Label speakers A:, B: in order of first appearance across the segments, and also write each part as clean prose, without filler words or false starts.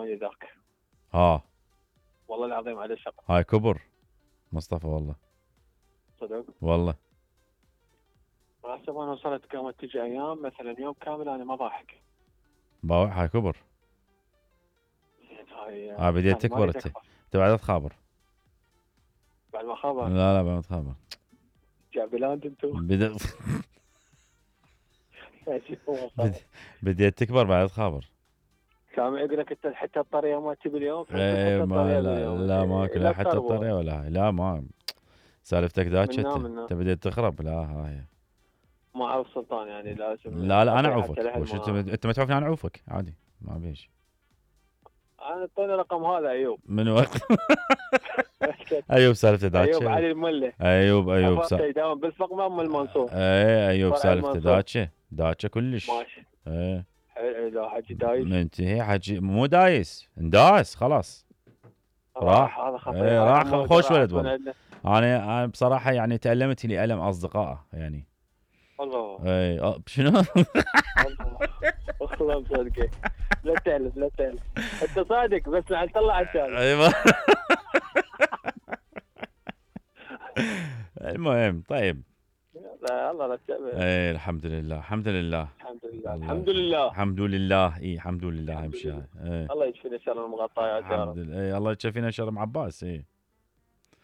A: ثاني ذاك. والله العظيم على شق.
B: هاي كبر مصطفى والله.
A: صدق
B: والله.
A: حسب انا وصلت قامت تجي ايام مثلا يوم كامل انا ما ضاحك.
B: هاي كبر.
A: هاي
B: بديت تكبر انت بعد تخابر.
A: بعد ما خابر.
B: لا بعد ما تخابر.
A: جعبلاند انتو.
B: بديت تكبر بعد تخابر.
A: سامع يقول لك انت حتى الطريقه ما تبي اليوم.
B: لا ماكو لا حتى الطريقه ولا هاي. لا ما سالفتك ذاك انت بديت تخرب. لا هاي
A: ما اعرف سلطان يعني لازم.
B: لا انا اعوفك. وش انت ما تعرفني انا اعوفك عادي ما بيش.
A: انا اعطيني رقم هذا ايوب.
B: من وقت ايوب سالفته ذاك.
A: ايوب علي المله.
B: ايوب
A: دائما بالفق ام المنصور.
B: ايوب سالفته ذاك كلش.
A: ماشي. لا حجي دايس.
B: منتهي حجي مو دايس انداس خلاص. راح
A: هذا خطير.
B: راح خوش ولد والله. انا بصراحه يعني تألمت لي ألم اصدقائه يعني.
A: الله.
B: شنو؟
A: والله مصدقك. لا تألف انت صادق بس لعل طلع الشارع.
B: المهم طيب.
A: لا الله لا تأبه.
B: الحمد لله الحمد لله الحمد لله امشي.
A: الله يكفينا شر المغطيات يا رب.
B: الله يكفينا شر ام عباس.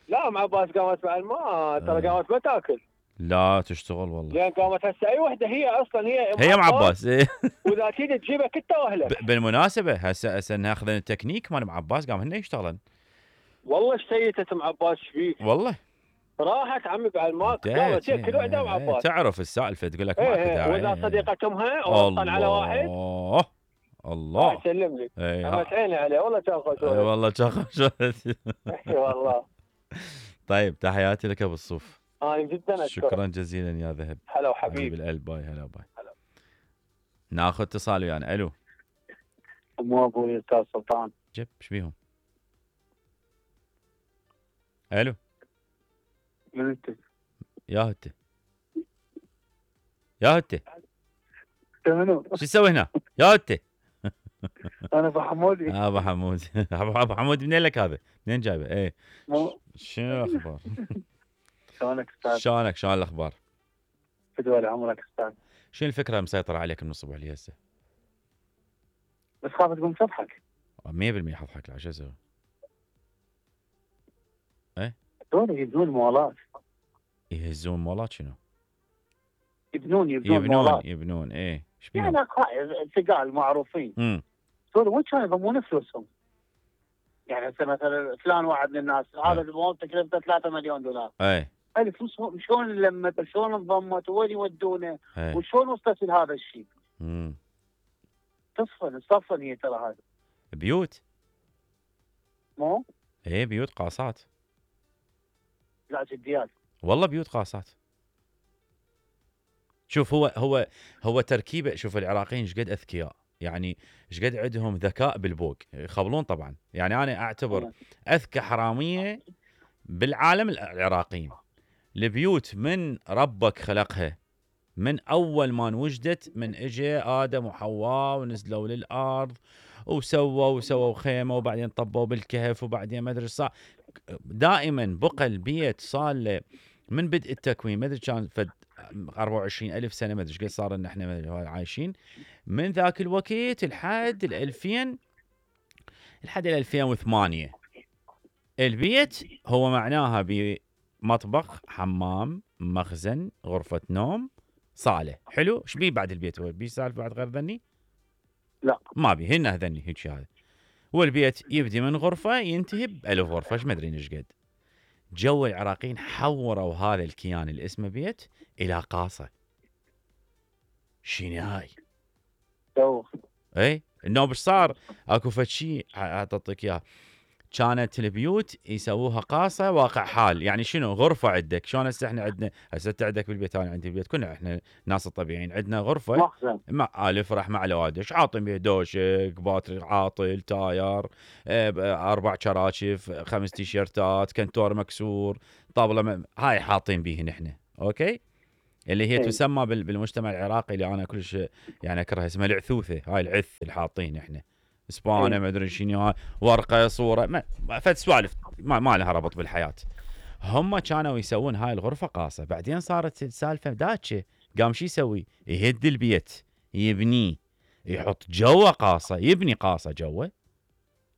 A: لا ام عباس قامت مع الماء ترى قامت ما تاكل.
B: لا تشتغل والله.
A: لان قامت هسه اي وحده هي اصلا هي
B: ام عباس.
A: واذا تريد تجيبها كنت واهله.
B: بالمناسبه هسه ناخذ التكنيك مال ام عباس قام هن يشتغلن.
A: والله اشتيتت ام عباس فيك
B: والله.
A: راحت عمي بعد ما قالت كل وحده ام عباس.
B: تعرف السالفه تقول لك ماكو داعي.
A: واذا صديقه امها وطن على واحد.
B: الله
A: يسلم لي. انا عيني عليه والله كان خوش.
B: والله كان خوش.
A: والله.
B: طيب تحياتي لك ابو الصوف.
A: جدا اشكرك.
B: شكرا جزيلا يا ذهب.
A: هلا وحبيبي
B: القلب. باي هلا باي. ناخذ اتصال ويانا. الو.
A: مو ابوي استاذ سلطان.
B: جيب ايش بيهم؟ الو.
A: من انت؟
B: يا هتي
A: منو؟
B: شو تسوي هنا؟ يا هتي.
A: انا ابو حمودي.
B: ابو حمود. ابو حمود منين لك هذا؟ منين جايبه؟ شنو الاخبار؟
A: شلونك استاذ؟
B: شلون الاخبار؟
A: فدوى عمرك استاذ.
B: شنو الفكره المسيطره عليك من الصبح لي هسه؟
A: بس خاف تقوم تضحك.
B: 100% حضحك. لا شو اسوي؟
A: دول يبنون مولات.
B: يهزون مولات شنو؟
A: يبنون
B: ايش
A: يعني ثقال معروفين. دول وين كانوا يضمون فلوسهم؟ يعني هسه مثلا فلان واحد من الناس هذا المول تكلفته 3 مليون دولار. هذه فلوس شلون لمت شلون انضمت وين يودونه وشلون وصلت لهذا الشيء؟ تصفن هي ترى هذا
B: بيوت.
A: مو؟
B: بيوت قاصات.
A: لا جديات
B: والله بيوت قاصات. شوف هو تركيبه. شوف العراقيين ايش قد اذكياء يعني ايش قد عندهم ذكاء بالبوق يخبلون طبعا. يعني انا اعتبر اذكى حراميه بالعالم العراقيين. البيوت من ربك خلقها من اول ما وجدت من اجى ادم وحواء ونزلوا للارض وسووا خيمه وبعدين طبوا بالكهف وبعدين ما ادري صار. دائما بقى البيت صار له من بدء التكوين ما ادري كان فد 24,000 سنه ما ادري ايش قد صار ان احنا عايشين من ذاك الوقت لحد 2000 لحد 2008. البيت هو معناها بمطبخ حمام مخزن غرفه نوم صاله. حلو. ايش بيه بعد البيت؟ هو بيه سالفه بعد غير ذني؟
A: لا
B: ما بيه. هن ذني هيك هذا. والبيت يبدي من غرفه ينتهي ب1000 غرفه. ايش ما ادري ايش قد. جو العراقيين حوروا هذا الكيان اللي اسمه بيت الى قاصه. شنو هاي؟ انه ايش صار؟ اكو فد شيء اعطيك اياه. كانت البيوت يسووها قاصه واقع حال. يعني شنو؟ غرفه عندك شلون هسه احنا عندنا هسه انت عندك بالبيت انا عندي بالبيت كنا احنا ناس الطبيعيين عندنا غرفه مع الفرح مع الوادش عاطين بيه دوشك باتري عاطل تاير 4 كراشف 5 تيشيرتات كنتور مكسور طاوله هاي حاطين بيه نحن. اوكي. اللي هي تسمى بالمجتمع العراقي اللي انا كلش يعني اكرهها اسمها العثوثه. هاي العث اللي حاطين احنا. اسبانه ما ادري شنو هاي ورقه صوره فد سوالف ما لها ربط بالحياه. هم كانوا يسوون هاي الغرفه قاصه، بعدين صارت السالفه داتشه، قام شو يسوي؟ يهد البيت يبنيه، يحط جوه قاصه، يبني قاصه جوه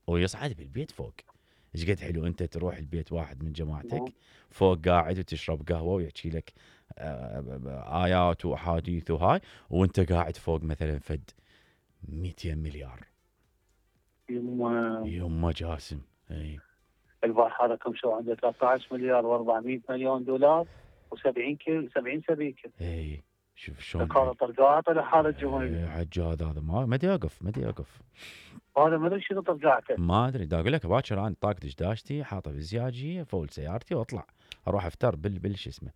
B: ويصعد بالبيت فوق. ايش قد حلو انت تروح البيت واحد من جماعتك فوق قاعد وتشرب قهوه ويحكي لك ايات واحاديث وهاي، وانت قاعد فوق مثلا فد 200 مليار. يما جاسم. اي
A: البارحه رقم شو عنده 13 مليار و400 مليون دولار و70 كيلو 70 سبيكه.
B: اي شوف شلون
A: قال طرقعته لحاله الجمهوريه.
B: عجاد هذا ما ادري يوقف
A: هذا ما ادري شنو طرقعته،
B: ما ادري. دا اقول لك باكر انا طاقت دشداشتي حاطه بالزياجيه فول سيارتي واطلع اروح افتر شو اسمه.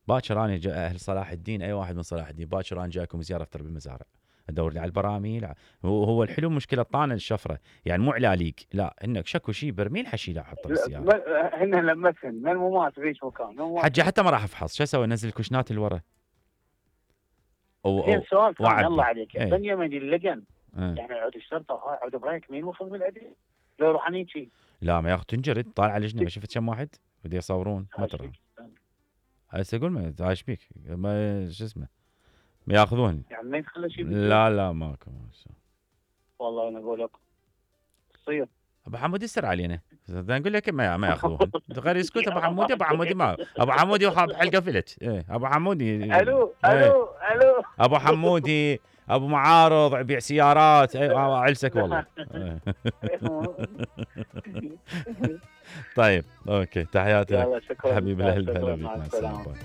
B: باكر انا اهل صلاح الدين، اي واحد من صلاح الدين باكر انا جايكم زياره افطر بالمزارع، ادور لي على البراميل. هو الحلو مشكله طانه الشفره، يعني مو علاليق، لا انك شكو شيء برميل حشيله احطه بالسياره.
A: هن لمسهن من مو مات بيش مكان
B: حجي حتى ما راح افحص، شو اسوي؟ انزل الكشنات اللي ورا.
A: زين سؤال ثاني الله عليك، بنيامين اللجن يعني عود الشرطه وهاي عود بريك مين ماخذ بالعدل؟ لو يروح شيء
B: لا ما ياخذ تنجرد، طالع لجنه ما شفت كم واحد بده يصورون ما ترى. هسه اقول ما ايش بيك ما شو اسمه ما ياخذون
A: يعني ما يدخل شيء.
B: لا ماكو.
A: والله انا اقول لك تصير
B: ابو حمودي يسر علينا، نقول لك ما ياخذون غير يسكت. ابو حمودي ما ابو حمودي وحاط حلقه فلت. ابو حمودي
A: الو
B: ابو حمودي ابو معارض يبيع سيارات. علسك والله. طيب اوكي تحياتي حبيبي الاهل.
A: مع السلامه.